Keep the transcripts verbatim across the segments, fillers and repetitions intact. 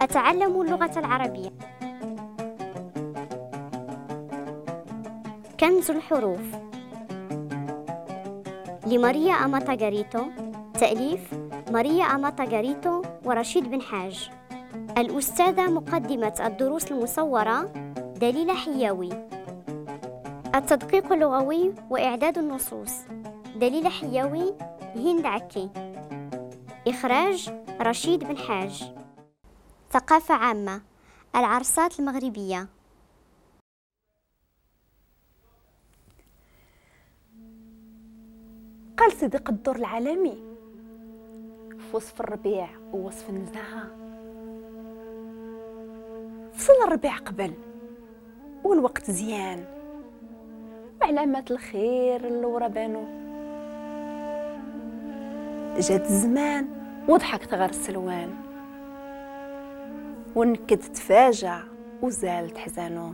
أتعلم اللغة العربية. كنز الحروف لماريا أماتاغاريتو، تأليف ماريا أماتاغاريتو ورشيد بن حاج. الأستاذة مقدمة الدروس المصورة دليلة حياوي. التدقيق اللغوي وإعداد النصوص دليلة حياوي، هند عكي. إخراج رشيد بن حاج. ثقافة عامة، العرصات المغربية. قال سيدي قدور العالمي في وصف الربيع ووصف النزاهة: فصل الربيع قبل والوقت زيان، وعلامات الخير اللي ورا بانو، جات الزمان وضحكت غير السلوان، ونكد تفاجع وزالت حزانو،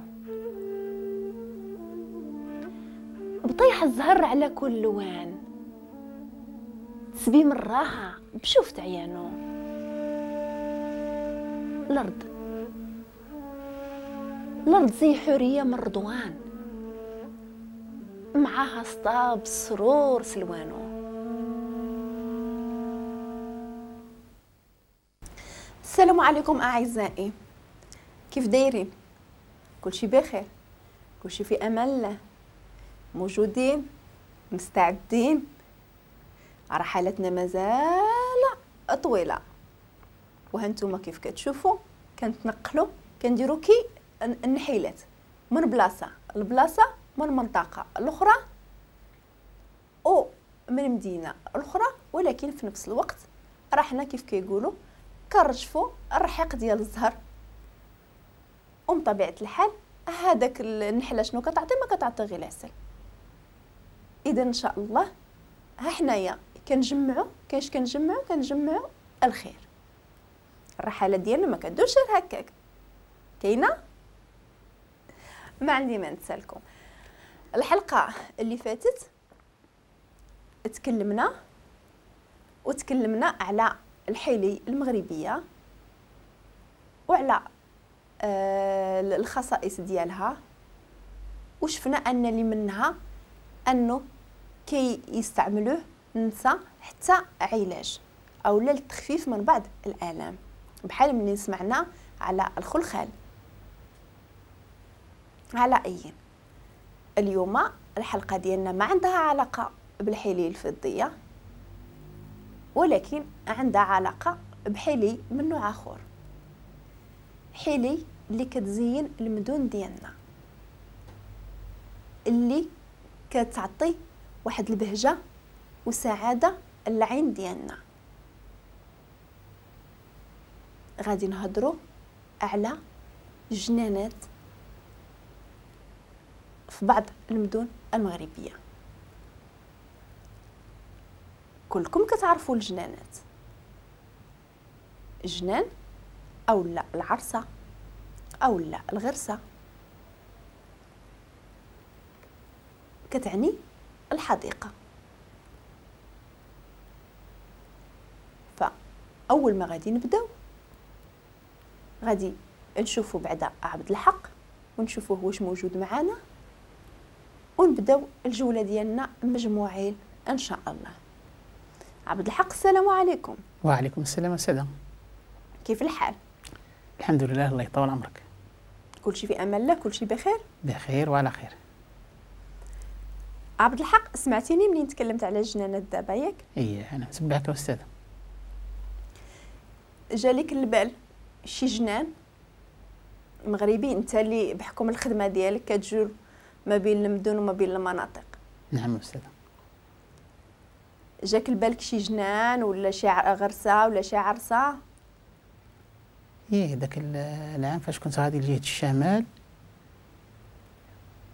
بطيح الزهر على كل لوان، تسبيم الراحة بشوفت عيانو. الأرض الأرض زي حورية من رضوان، معاها سطاب سرور سلوانو. السلام عليكم أعزائي، كيف دايرين؟ كلشي بخير، كلشي في أمان الله، موجودين، مستعدين؟ رحلتنا مازال طويلة، وهانتوما كيف كتشوفوا كنتنقلوا، كنديروا كي النحيلات من بلاصة لبلاصه، من منطقة الاخرى او من مدينة الاخرى، ولكن في نفس الوقت رحنا كيف كيقولوا كنرجفوا الرحيق ديال الزهر. ومن طبيعة الحال هذاك النحلة شنو كتعطي؟ ما كتعطي غير العسل. اذا ان شاء الله ها حنايا كنجمعوا، كاش كنجمعوا كنجمعوا الخير. الرحلة ديالنا ما كدورش غير هكاك، كاينه ما عندي ما نتسالكم. الحلقة اللي فاتت تكلمنا وتكلمنا على الحيلي المغربية وعلى آه الخصائص ديالها، وشفنا ان اللي منها انه كي يستعملوه النساء حتى علاج او للتخفيف من بعض الالام، بحال ملي سمعنا على الخلخال. على اي اليوم الحلقة ديالنا ما عندها علاقة بالحلي الفضيه، ولكن عندها علاقة بحلي من نوع اخر، حلي اللي كتزين المدن ديالنا، اللي كتعطي واحد البهجة وسعادة العين ديالنا. غادي نهضروا على جنانات في بعض المدن المغربية. كلكم كتعرفوا الجنانات، الجنان او لا العرسه او لا الغرسه كتعني الحديقة. فاول ما غادي نبداو غادي نشوفوا بعدا عبد الحق ونشوفوه واش موجود معانا، ونبداو الجولة ديالنا مجموعين ان شاء الله. عبد الحق السلام عليكم. وعليكم السلام السلام. كيف الحال؟ الحمد لله، الله يطول عمرك. كلشي في امان الله، كلشي بخير؟ بخير وعلى خير. عبد الحق سمعتيني منين تكلمت على الجنانات دابا ياك؟ ايه انا متبعك استاذه. جالك البال شي جنان مغربي انت اللي بحكم الخدمة ديالك كتجول ما بين المدن وما بين المناطق؟ نعم استاذه. جاك البالك شي جنان ولا شي غرسه ولا شي عرسه؟ ايه داك العام فاش كنت غادي لجهة الشمال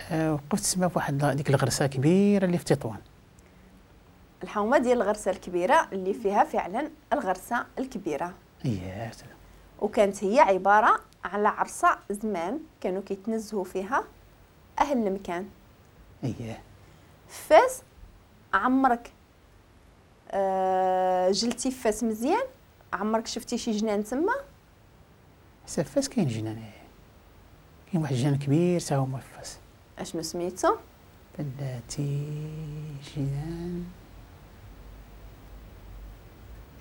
أه وقفت تما في واحد ديك الغرسه كبيرة اللي في تطوان، الحومه ديال الغرسه الكبيرة اللي فيها فعلا الغرسه الكبيرة. ايه وكانت هي عبارة على عرسه زمان كانوا كيتنزهوا فيها اهل المكان. ايه فاس عمرك آه جلتي فاس مزيان؟ عمرك شفتي شي جنان تما؟ حتى في فاس كاين جنان، كاين واحد الجنان كبير تا هو في فاس. اشنو سميتو؟ بلاتي جنان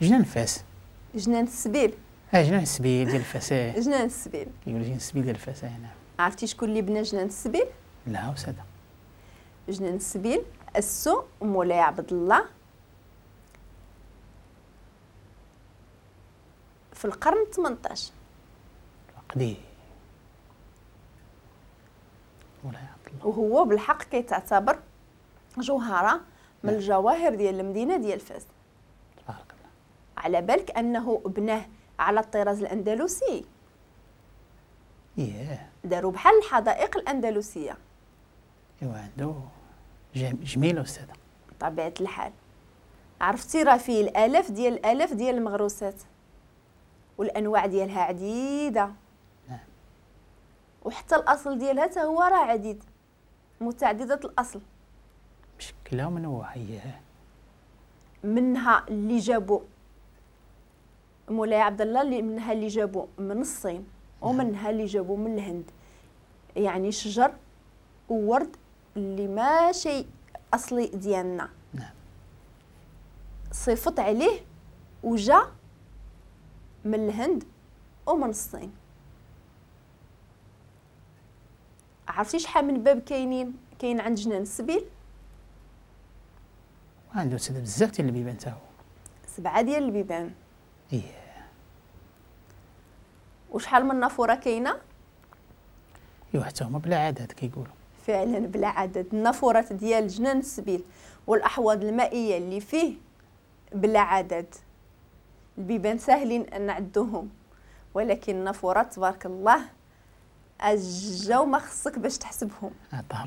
جنان فاس. جنان السبيل. اه جنان السبيل ديال فاس. جنان السبيل كيقولوا جنان السبيل ديال فاس. نعم. عرفتي شكون اللي بنى جنان السبيل؟ لا أستاذة. جنان السبيل أسسو مولاي عبد الله في القرن ثمنطاش. قديم مولاي عبد الله، وهو بالحق كيتعتبر جوهرة من الجواهر ديال المدينة ديال فاس. تبارك الله. على بالك أنه بناه على الطراز الأندلسي. إيه داروا بحال الحدائق الأندلسية. إيوا عنده جميل أستاذة. بطبيعة الحال. عرفتي راه فيه الآلاف ديال الآلاف ديال المغروسات والأنواع ديالها عديدة. نعم. وحتى الأصل ديالها حتى هو راه عديد، متعددة الأصل. مشكلة ومنوعة. إيه منها اللي جابوا مولاي عبد الله، اللي منها اللي جابوا من الصين، ومنها اللي جابوا من الهند. يعني شجر وورد اللي ما شيء اصلي ديالنا. نعم. صيفط عليه وجا من الهند ومن الصين. عرفتي شحال من باب كاينين كاين عند جنان السبيل؟ عنده بزاف ديال البيبان تا هو. سبعة ديال البيبان. ايه. وشحال من نافورة كاينه؟ ايوا حتى هما بلا عدد كيقولوا. فعلا بلا عدد. النافورات ديال جنان السبيل والاحواض المائية اللي فيه بلا عدد. البيبان ساهلين ان نعدوهم، ولكن النافورات تبارك الله الجو ما خصك باش تحسبهم. عطاه الله.